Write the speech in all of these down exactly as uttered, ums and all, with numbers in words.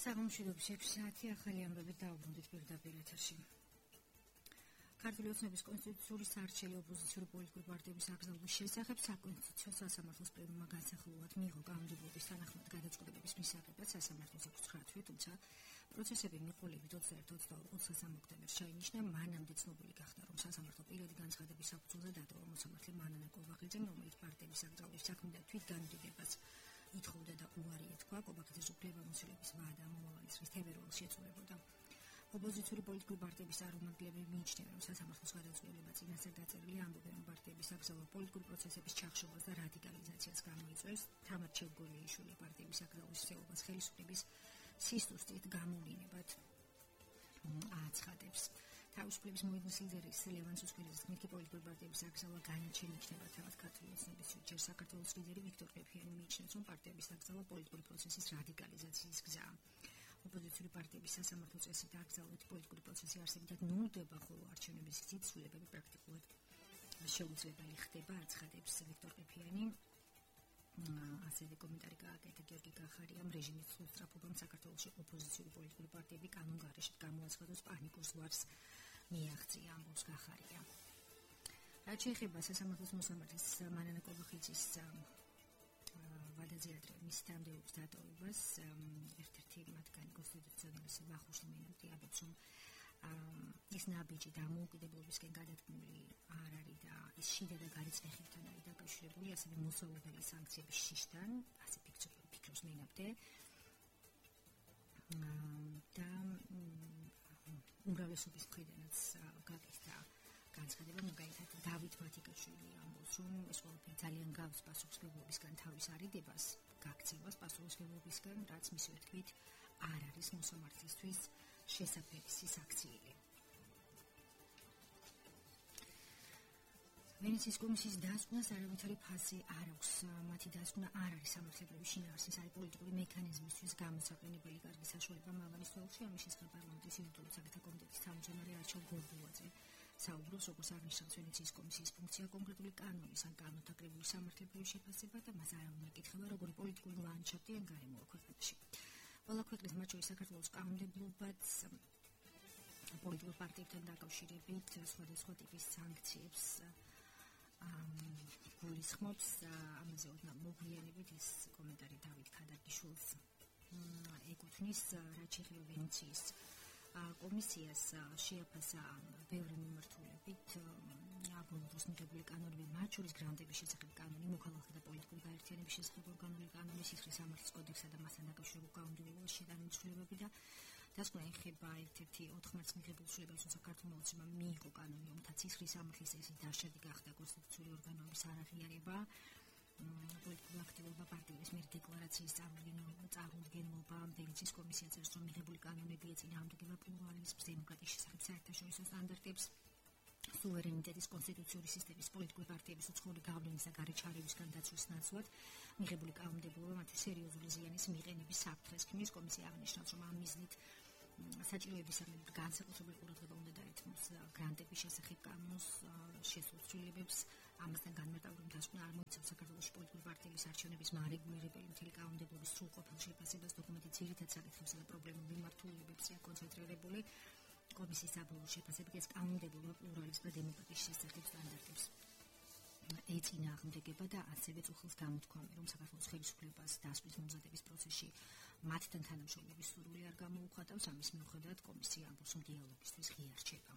საღამოშიდობის ექვსი საათი ახალი ამბებით დაუბრუნდით პირდაპირ ეთერში. ქართული ოცნების კონსტიტუციური საარჩელი ოპოზიციური პოლიტიკური პარტიების აკრძალვის შესახებ საკონსტიტუციო სასამართლოს პლენუმმა განსახილულად მიიღო კანონმდებლობის თანახმად გადაწყვეტილების მისაღებად სასამართლოს ოცდაათი თვე, თუმცა პროცესები მიყოლებით ოცდაერთი ოცდაოთხ ოктომბერს ჩაინიშნა. მანამდე ცნობილი გახდა, რომ სასამართლო პირადი განცხადების საფუძველზე დატოვა მოსამართლე მანანა კობახიძემ, რომელიც პარტიების აკრძალვის საქმიდან თვითგანუდიდებას ითხოვდა და უარი ეთქვა. კობახიძეს უფლებამოსილების ვადა მომავალი წლის თებერვალს შეწურებოდა. ოპოზიციური პოლიტიკური პარტიების წარმომადგენლები მიიჩნევენ, რომ სასამართლოს გადაწყვეტილება წინასწარ დაწერილი ამბობენ, რომ პარტიების აკრძალვა პოლიტიკური პროცესების ჩახშობას და რადიკალიზაციას გამოიწვევს. თამარ ჩევგორიაშვილი პარტიების აკრძალვის ხსეობას ხელისუფლების სისტუსტით გამოვლინებად აცხადებს. თავისუფლების მოედნის ლიდერის ლევან სუსკელიძის თქმით, პოლიტიკური პარტიების აკრძალვა განაჩენი იქნება თავად ქართული ოცნების ჯერ საქართველოს ლიდერი ვიქტორ ყიფიანი მიიჩნევს, რომ პარტიების აკრძალვა პოლიტიკური პროცესის რადიკალიზაციის გზაა. ოპოზიციური პარტიების სასამართლო წესით აკრძალვით პოლიტიკური პროცესი არსებითად ნულდება, ხოლო არჩევნების სიცვლილებები პრაქტიკულად შეუძლებელი ხდება, აცხადებს ვიქტორ ყიფიანი. ასევე კომენტარი გააკეთა გიორგი კახარიამ, რეჟიმის სწრაფობამ საქართველოში ოპოზიციური პოლიტიკური პარტიები კანონგარეშე გამოაცხადოს პანიკურ ზვარს მიაღწია, ამბობს კახარია. რაც შეეხება სასამართლოს მოსამართლის მანანა კობახიძის ვადაზე ადრე მის თანამდებობის დატოვებას, ერთ-ერთი მათგანი კონსტიტუციონალის ვახუშტი მინუტი ამბობს, რომ ის ნაბიჯი დამოუკიდებლობისკენ გადადგმული არ არის და ის შიდა და გარიწმეხებთან არის დაკავშირებული, ასევე მოსაუბრებელი სანქციების შიშთან, ასე ფიქრობს მენაბდე. და უმრავლესობის მხრიდანაც გაკეთდა განცხადება, მაგალითად დავით მათიკაშვილი ამბობს, რომ ეს ყველაფერი ძალიან გავს პასუხისმგებლობისგან თავის არიდებას, გაქცევას პასუხისმგებლობისგან, რაც მისივე თქმით არ არის მოსამართლისთვის შესაფერისი საქციელი. ვენეციის კომისიის დასკვნას არავითარი ფასი არ აქვს. მათი დასკვნა არ არის სამართლებრივი შინაარსის, არის პოლიტიკური მექანიზმისთვის გამოსაყენებელი კარგი საშუალება. მამალის თვალში ამის შესახებ პარლამენტის იურიდიული საკითხთა კომიტეტის თავმჯდომარე არჩილ გორბულაძე საუბრობს, როგორც აღნიშნავს ვენეციის კომისიის ფუნქცია კონკრეტული კანონის ან კანონთა კრებულის სამართლებრივი შეფასება და მას არ უნდა ეკითხება, როგორი პოლიტიკური ლანდშაფტი ან გარემოა ქვეყანაში. ყველა ქვეყნის, მათ შორის საქართველოს კანონმდებლობაც პოლიტიკურ პარტიებთან დაკავშირებით სხვადასხვა ტიპის სანქციებს გულისხმობს. ამაზე ოდნავ მოგვიანებით ეს კომენტარი დავით ქადაგიშვილს ეკუთვნის. რაც შეეხება ვენეციის კომისიას, შეაფასა ბევრი მიმართულებით აბოლოს მიღებული კანონები, მათ შორის გრანტების შესახებ კანონი, მოქალაქეთა და პოლიტიკური გაერთიანების შესახებ ორგანული კანონი, სისხლის სამართლის კოდექსა და მასთან დაკავშირებულ კანონმდებლობას შეტანილი ცვლილებები და დასკვნა ეხება ერთ-ერთი ოთხ მარტს მიღებულ ცვლილებებს, თუმცა ქართულმა ოცნებამ მიიღო კანონი, რომელთაც სისხლის სამართლის წესი დაშადი გახდა კონსტიტუციური ორგანოების არაღიარება, პოლიტიკური აქტივობა, პარტიების მიერ დეკლარაციის წარმოდგენობა. ვენეციის კომისია წერს, რომ მიღებული კანონები ეწინააღმდეგება პლურალიზმს, დემოკრატიის შესახებ საერთაშორისო სტანდარტებს, სუვერენიტეტის, კონსტიტუციური სისტემის, პოლიტიკური პარტიების უცხოური გავლენის და გარეჩარევისგან დაცვის ნაცვლად მიღებული კანონმდებლობა მათი სერიოზული ზიანის მიყენების საფრთხეს ქმნის. კომისია აღნიშნავს, რომ ამ მიზნით საჭიროების სამეფო განსაკუთრებული ყურადღება უნდა დაეთმოს გრანტების შესახებ კანონს შესულ ცვლილებებს. ამასთან განმარტავ, რომ დასკვნა არ მოიცავს საქართველოს პოლიტიკური პარტიების არჩევნების მარეგულირებელი მთელი კანონმდებლობის სრულყოფილ შეფასებას. დოკუმენტი ძირითად საკითხებსა და პრობლემურ მიმართულებებზეა კონცენტრირებული. კომისიის საბოლოო შეფასებით ეს კანონმდებლობა პლურალიზმს და დემოკრატიის შესახებ სტანდარტებს ეწინააღმდეგება და ასევე წუხილს გამოთქვამი, რომ საქართველოს ხელისუფლებას დასკვნის მომზადების პროცესში მათთან თანამშრომლობის სურვილი არ გამოუხატავს. ამის მიუხედავად კომისია ამბობს, რომ დიალოგისთვის ღია რჩება.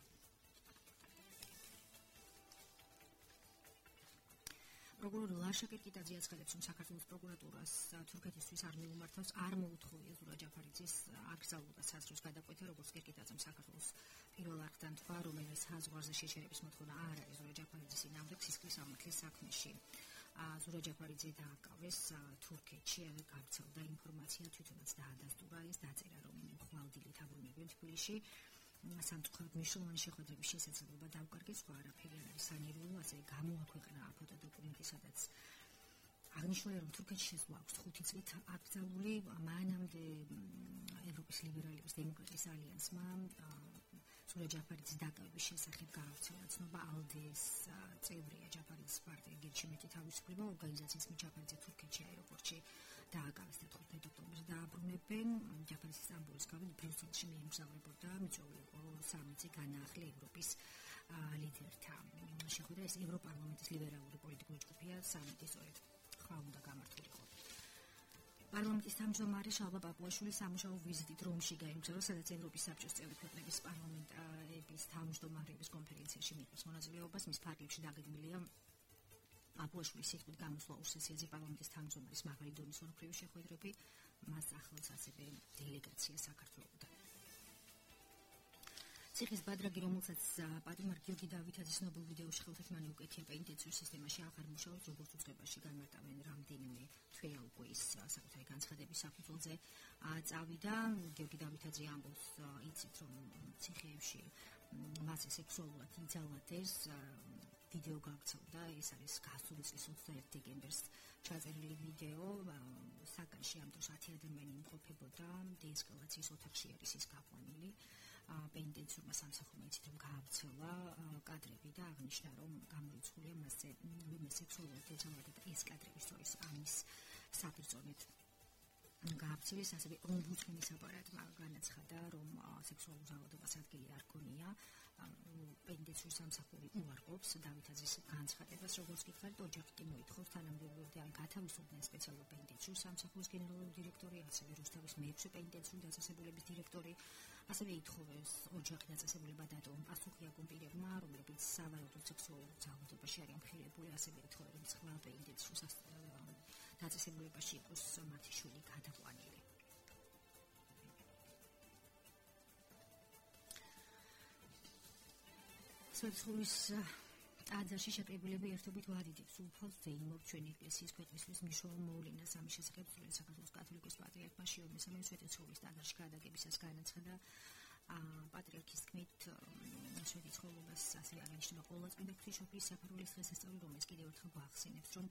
პროკურორი ლაშა კირკიტაძე აცხადებს, რომ საქართველოს პროკურატურას თურქეთისთვის არ მიუმართავს, არ მოუთხოვია ზურა ჯაფარიძის აკრძალვა საზღვრის გადაკვეთა, როგორც კირკიტაძემ საქართველოს პირველ არხთან თქვა, რომელიც საზღვარზე შეჩერების მოთხოვნა არ არის ზურა ჯაფარიძის წინააღმდეგ სისხლის სამართლის საქმეში. ზურა ჯაფარიძე დააკავეს თურქეთში, გავრცელდა ინფორმაცია, თვითონაც დაადასტურა ეს დაწერა, რომ ხვალდილით აბრუნებენ თბილისში. სამწუხაროდ მნიშვნელოვანი შეხვედრების შესაძლებლობა დაუკარგეს, სხვა არაფერი არ არის სანერვულო, ასევე გამოაქვეყნა ფოტო დოკუმენტი, სადაც აღნიშნულია, რომ თურქეთში შესვლა აქვს ხუთი წლით აკრძალული. მანამდე ევროპის ლიბერალების დემოკრატიის ალიანსმა ზურა ჯაფარიძის დაკავების შესახებ გაავრცელა ცნობა. ალდეს წევრია ჯაფარიძის პარტია გერჩიმეტი თავისუფლება ორგანიზაციის მიერ ჯაფარიძე თურქეთში აეროპორტში დააკავეს და თხუთმეტი ოქტომბერს დააბრუნება. ემსახურებენ ჯაფარის სტამბოლის გავით ბრიუსელში მიემგზავრებოდა მიწვეული იყო სამი განაახლე ევროპის ლიდერთან. შეხვედრა ეს ევროპარლამენტის ლიბერალური პოლიტიკური ჯგუფია სამიტი სწორედ ხა უნდა გამართულიყო. პარლამენტის თავმჯდომარე შალვა პაპუაშვილი სამუშაო ვიზიტით რომში გაემგზავრა, სადაც ევროპის საბჭოს წევრი ქვეყნების პარლამენტების თავმჯდომარეების კონფერენციაში მიიღოს მონაწილეობას. მის ფარგლებში დაგეგმილია პაპუაშვილის სიტყვით გამოსვლა ორ სესიაზე პარლამენტის თავმჯდომარის მაღალი დონის ორქრივი შეხვედრები, მას ახლავს ასევე დელეგაცია საქართველოსთან. ციხის ბადრაგი, რომელსაც პატიმარ გიორგი დავითაძის ცნობილ ვიდეოში ხელთათმანი უკეთება ინტენსიურ სისტემაში აღარ მუშაობს, როგორც უწყებაში განმარტავენ რამდენიმე თვე უკვე ის საკუთარი განცხადების საფუძველზე წავიდა. გიორგი დავითაძე ამბობს, იცით რომ ციხეებში მასზე სექსუალურად იძალადეს, ვიდეო გავრცელდა, ეს არის გასული წლის ოცდაერთი დეკემბერს ჩაწერილი ვიდეო, საკანში ამ დროს ათი ადამიანი იმყოფებოდა, დეესკალაციის ოთახში არის ის გაყვანილი. პენიტენციურმა სამსახურმა იცით რომ გაავრცელა კადრები და აღნიშნა რომ გამოიცხულია მასზე ვინმე სექსუალურად ეძალადა ეს კადრები სწორედ ამის საფრთხით გაავრცელეს. ასევე ომბუდსმენის აპარატმა განაცხადა რომ სექსუალურ ძალადობას ადგილი არ ქონია. პენიტენციურ სამსახური უარყოფს დავითაძის განცხადებას, როგორც გითხარით, ოჯახი მოითხოვს თანამდებობიდან გათავისუფლდნენ სპეციალურ პენიტენციურ სამსახურის გენერალური დირექტორი, ასევე რუსთავის მეექვსე პენიტენციური დაწესებულების დირექტორი. ასევე ითხოვეს ოჯახი დაწესებულება დატოვონ პასუხი აქ პირებმა, რომლებიც სავარაუდოდ სექსუალურ ძალადობაში არიან მხილებული. ასევე ითხოვეს რომ სხვა პენიტენციურ დაწესებულებაში იყოს მათი შვილი გადაყვანილი. სოციალურის ტაძარში შეკრებილები ერთობით ვადიდებს უფალს ზეიმობ ჩვენი ეკლესიის ქვეყნისთვის მნიშვნელოვან მოვლენას. ამის შესახებ სრულიად საქართველოს კათოლიკოს პატრიარქმა შიო მესამე სვეტიცხოვლის ტაძარში გადაგებისას განაცხადა. პატრიარქის თქმით, სვეტიცხოვლობას ასევე აღნიშნება ყოვლადწმიდა ღვთისმშობლის საფარველის დღესასწაული, რომელიც კიდევ ერთხელ გვახსენებს, რომ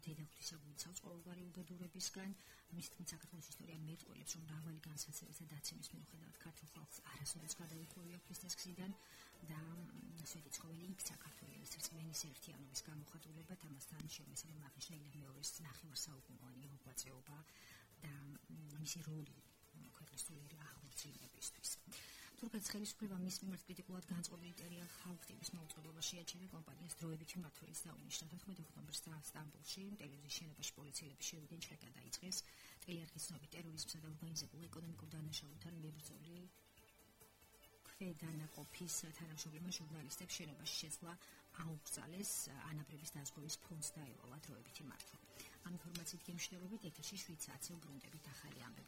დედა ღვთისა გვიცავს ყოველგვარი უბედურებისგან. მის თქმით, საქართველოს ისტორია მეტყველებს, რომ მრავალი განსაცდელის და დაცემის მიუხედავად ქართულ ხალხს არასოდეს გადაუხვევია ქრისტეს გზიდან და სვეტიცხოველი იქცა ქართველების რწმენის ერთიანობის გამოხატულებად. ამასთან შემოსილი აღნიშნულია მეორე ნახევარსაუკუნოვანი მოღვაწეობა და მისი როლი ქვეყნის სულიერი აღორძინებისთვის. თურქეთის ხელისუფლება მის მიმართ კრიტიკულად განწყობილი ტერია ხალხტების მოუწყებლობა შეაჩერა კომპანიას დროებითი მმართველიც დაუნიშნა. თოთხმეტი ოქტომბერს სტამბოლში ტელევიზიის შენობაში პოლიციელების შევიდნენ, ჩეკა დაიწყეს. ტელეარხის ცნობით ტერორიზმსა და ორგანიზებულ ეკონომიკურ დანაშაულთან მებრძოლი ქვედანაყოფის თანამშრომლებმა ჟურნალისტებს შენობაში შეცვლა აუგზალეს, ანაბრების დაზღვევის ფონდს დაევალა დროებითი მმართველი. ამ ინფორმაციით გემშვიდობით ეთერში შვიდ საათზე უბრუნდებით ახალი ამბები.